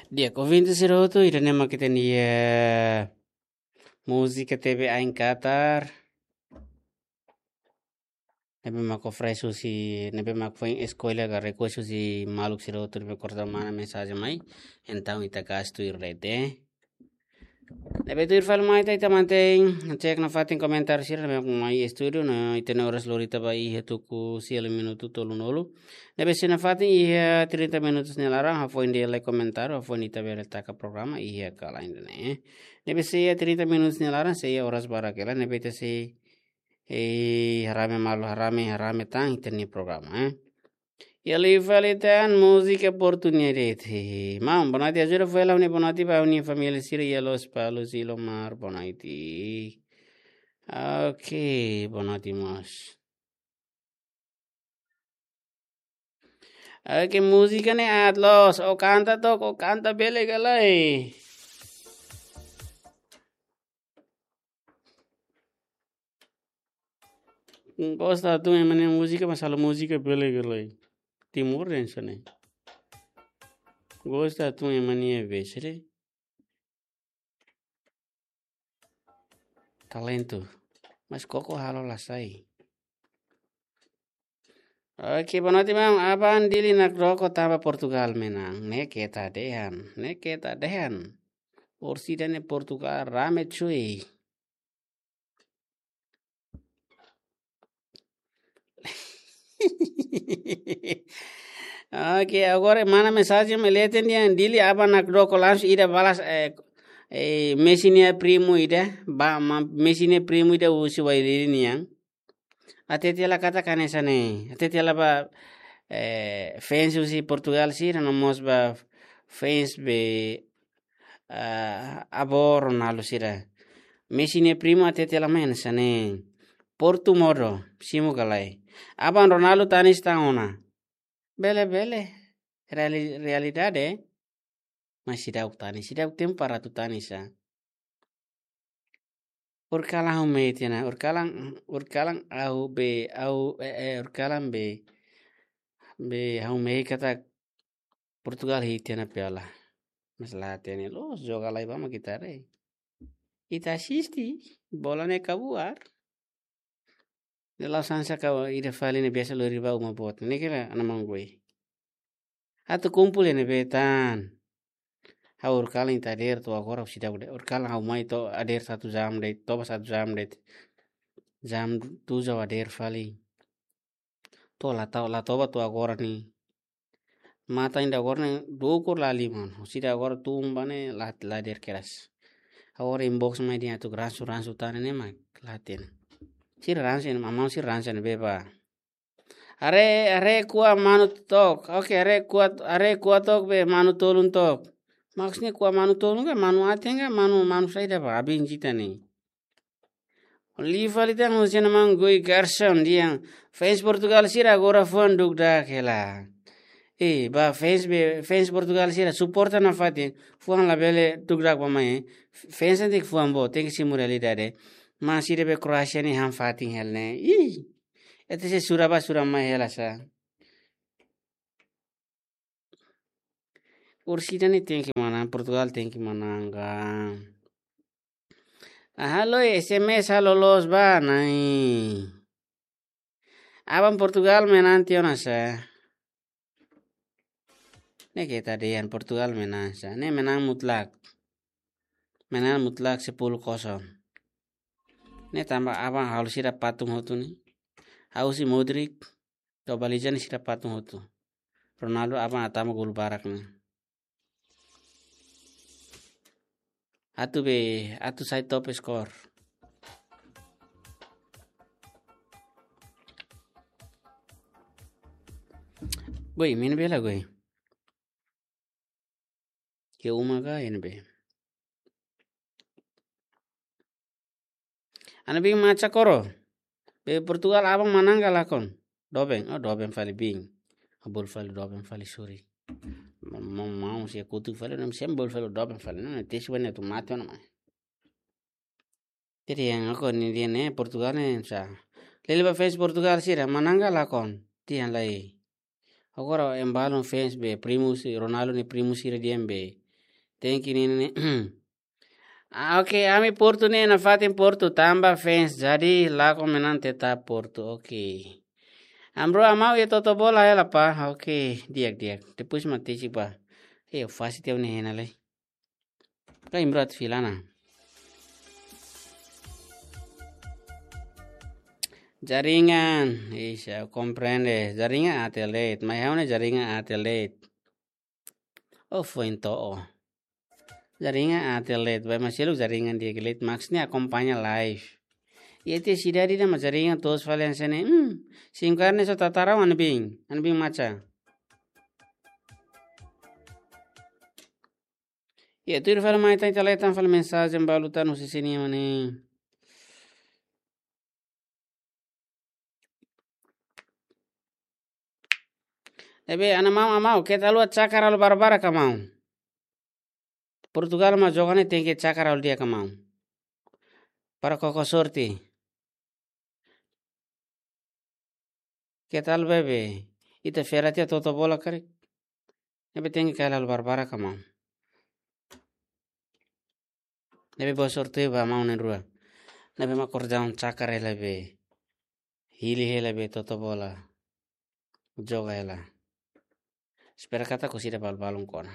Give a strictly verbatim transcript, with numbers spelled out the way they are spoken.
Di'ak, ouvinte sira hotu, ida-ne'e mak ita-nia, eh, múzika T V Ain Qatar. Ne'ebé mak fresh husi, ne'ebé mak foin eskolha ka request husi maluk sira hotu ne'ebé konsege manda mensajen mai. Entaun ita gasta tuir rede. Ne'ebé tuir fali mai ita, ita mantein, cek nafatin komentáriu sira ne'ebé mai estúdiu, no ita-nia oras lori ita ba iha tuku sia liu minutu tolunulu. Ne'ebé se nafatin iha trinta minutus nia laran, hafoin dehan lai komentáriu, hafoin ita bele taka programa iha kala ida-ne'e. Ne'ebé se iha trinta minutus nia laran, se iha oras barak hela, ne'ebé ita sei, eh, harame malu, harame, harame tan ita-nia programa, eh. Iha liu fali tan múzika oportunidade. Maun, boa noite, ajuda fali ha'u-nia boa noite ba ha'u-nia família sira iha Lospalos, Ilomar, boa noite. Ok, boa noite, mós. Oke, múzika ne'e aat loos, ó kanta took, ó kanta bele ka lae. Gosta tun ema nia múzika, mas halo múzika bele ka lae. Timoroan hanesan ne'e. Gosta tun ema nia besere. Talentu. Mas koko halo la sai. Oke, boa noite, maun. Aban Dili nakdoko tanba Portugal menang. Ne'e keta dehan. Ne'e keta dehan. Orsida ne'e Portugal rame cuy. Oke, agora manda mensajen mai leten dehan Dili aban nakdoko langsung ida balas, eh, eh, Messi nia primu ida, ba, ma, Messi nia primu ida husi Uailili nian. Hatete hela katak hanesan ne'e. Hatete hela ba, eh, fans husi Portugal sira no mós ba fans be, ah, avó Ronaldo sira. Messi nia primu hatete hela mai hanesan ne'e. Portu modo, simu ka lae. Aban Ronaldo tanis tan ona. Bele, bele. Reali-, realidade. Mas seidauk tanis, seidauk tempu para atu tanis sa. Horikalan ha'u mehi tiha ona, horikalan, horikalan ha'u be, ha'u, eh, eh, horikalan be, be ha'u mehi katak Portugal hetan ona piala. Mas la hatene, loos joga lai ba mak ita haree. Ita asiste, bola ne'e kabuar. Ne'e la'o sansa ka ida fali ne'e biasa lori ba uma boot. Ne'e kira ana mangoi. Atu kumpul iha ne'ebé tan. Ha'u horikalan ita hadeer to'o agora ha'u seidauk de'it. Horikalan ha'u mai to'o hadeer satu jam de'it, toba satu jam de'it. Jam tujuh ha'u hadeer fali. To'o la toba, la toba to'o agora ne'e. Matan ida agora ne'e dukur la liman. Husida agora tun ba ne'e la, la hadeer kedas. Agora inbox mai dehan atu ransu, ransu tan ne'e mak la hatene. Sira ransu, maun sira ransu ne'ebé ba. Haree, haree kuak manu took. Oke, haree kuak, haree kuak took be manu tolun took. Maksudnya kuak manu tolun ka manu aten ka manu, manu saida ba, abin jita ne'e. Liu fali tan husi ema mangoi Gerson dehan fans Portugal sira agora fuan dukdak hela. Eh, ba fans be, fans Portugal sira suporta nafatin, fuan labele dukdak ba mai. Fans tenke fuan boot, tenke simu realidade. Mas sira be Kroasia ne'e han fatin hela ne'e. Ih, ete se sura ba sura mai hela sa. Orsida ne'e tenke manán, Portugal tenke manán ka. Aha, halo S M S halo loos ba, nai. Aban Portugal menang tiha ona sa. Ne'e keta dehan Portugal menang sa. Ne'e menang mutlak. Menang mutlak sepuluh kosong. Ne'e tanba aban halo sira patung hotu ne'e. Ha'u husi Modric, Globaliza ne'e sira patung hotu. Ronaldo aban hatama gol barak ne'e. Atu be, atu sai top skor. Goi, main bela goi. Ke uma ka iha ne'ebé. Ana bin macha koro. Be Portugal aban manán ka lakon. Doben, oh, doben fali bin. Abol fali doben fali suri. Mau, mau, mau, se kutu fali, nem sem bol fali doben fali. Não, te suban tu mate ona mai. Jadi yang aku ni dia ne Portugal ne sa. Lele ba fans Portugal sira manán ka lakon. Tian lai. Agora ema balu fans be primu si Ronaldo nia primu sira dehan be. Thank you, Nini. Ah, oke, ami Portu ne'e, nafatin Portu, tanba fans, jadi lakohi ami-nia tetap Portu, oke. Amro amau iha toto bola hela pa, oke, di'ak, di'ak. Depois mak tesi pa. Eh, fásil teu ne'e hena lai. Ka imro atu fila ona. Jaringan, isa komprende. Jaringan aat de'it, mai ha'u ne'e jaringan aat de'it. Oh, foin to'o. Jaringan aat de'it, bá mak seluk jaringan di'ak de'it, maksudnya akompaña live. Iha tiha sidade ida mak jaringan toos fali hanesan ne'e. Hmm, SIM card ne'e só tatara anbin, anbin maca. Iha tuir fali mai tan, ita leten fali mensajen balu tan husi sini mane. Ne'ebé, ana mau, amau, keta haluha cakar halo barbarak amau. Portugal mak joga ne'e tenke cakar halo di'ak amau. Para koko sorte. Keta haluha bebe, ita fera tiha toto bola karik. Ne'ebé tenke kaer halo barbarak amau. Ne'ebé boa sorte ba amau na'in-rua. Ne'ebé mak akordaun cakar hela be. Hili hela be toto bola. Joga hela. Espera katak orsida balun-balun kona.